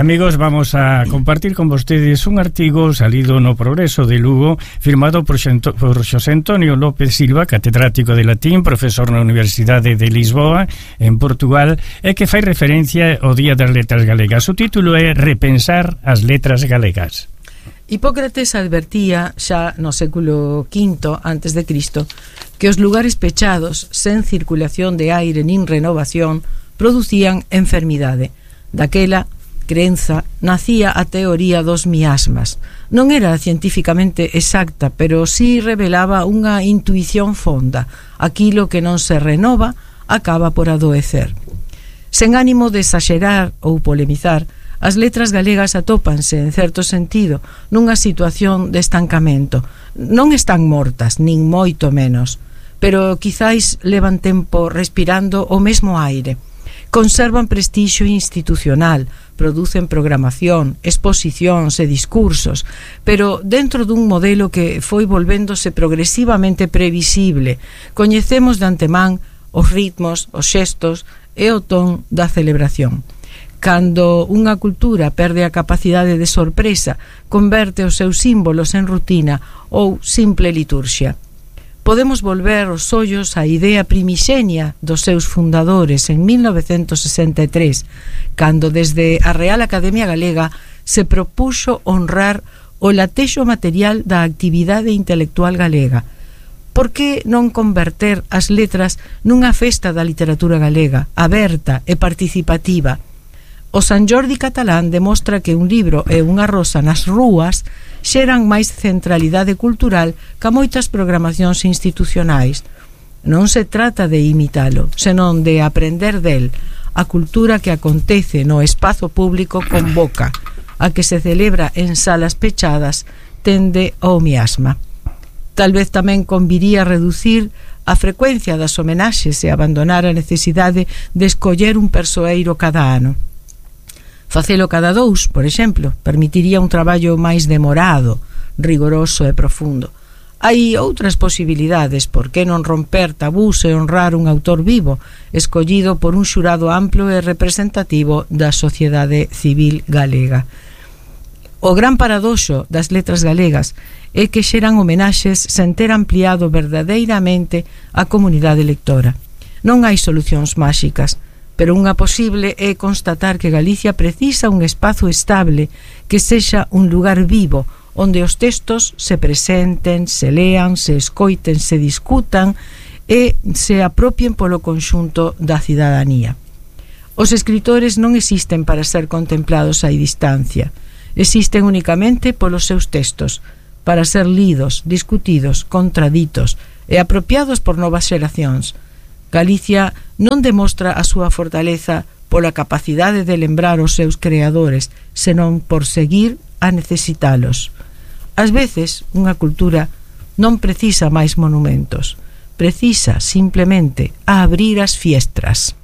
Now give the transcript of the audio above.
Amigos, vamos a compartir con vostedes un artigo salido no Progreso de Lugo, firmado por Xosé Antonio López Silva, catedrático de latín, profesor na Universidade de Lisboa, en Portugal, e que fai referencia ao Día das Letras Galegas. O título é Repensar as letras galegas. Hipócrates advertía xa no século V antes de Cristo que os lugares pechados, sen circulación de aire nin renovación, producían enfermidade. Daquela crenza nacía a teoría dos miasmas. Non era cientificamente exacta, pero sí revelaba unha intuición fonda. Aquilo que non se renova acaba por adoecer. Sen ánimo de exagerar ou polemizar, as letras galegas atópanse, en certo sentido, nunha situación de estancamento. Non están mortas, nin moito menos, pero quizáis levan tempo respirando o mesmo aire. Conservan prestixio institucional, producen programación, exposicións e discursos, pero dentro dun modelo que foi volvéndose progresivamente previsible. Coñecemos de antemán os ritmos, os xestos e o ton da celebración. Cando unha cultura perde a capacidade de sorpresa, converte os seus símbolos en rutina ou simple liturxia. Podemos volver os ollos á idea primixenia dos seus fundadores en 1963, cando desde a Real Academia Galega se propuxo honrar o latexo material da actividade intelectual galega. Por que non converter as letras nunha festa da literatura galega, aberta e participativa? O San Jordi catalán demostra que un libro e unha rosa nas rúas xeran máis centralidade cultural ca moitas programacións institucionais. Non se trata de imitalo, senón de aprender del. A cultura que acontece no espazo público convoca. A que se celebra en salas pechadas tende ao miasma. Tal vez tamén conviría reducir a frecuencia das homenaxes e abandonar a necesidade de escoller un persoeiro cada ano. Facelo cada 2, por exemplo, permitiría un traballo máis demorado, rigoroso e profundo. Hai outras posibilidades, por que non romper tabús e honrar un autor vivo, escollido por un xurado amplo e representativo da sociedade civil galega. O gran paradoxo das letras galegas é que xeran homenaxes sen ter ampliado verdadeiramente a comunidade lectora. Non hai solucións máxicas, pero unha posible é constatar que Galicia precisa un espazo estable que sexa un lugar vivo, onde os textos se presenten, se lean, se escoiten, se discutan e se apropien polo conxunto da cidadanía. Os escritores non existen para ser contemplados a distancia, existen únicamente polos seus textos, para ser lidos, discutidos, contraditos e apropiados por novas xeracións. Galicia non demostra a súa fortaleza pola capacidade de lembrar os seus creadores, senón por seguir a necesitalos. Ás veces, unha cultura non precisa máis monumentos, precisa simplemente a abrir as fiestras.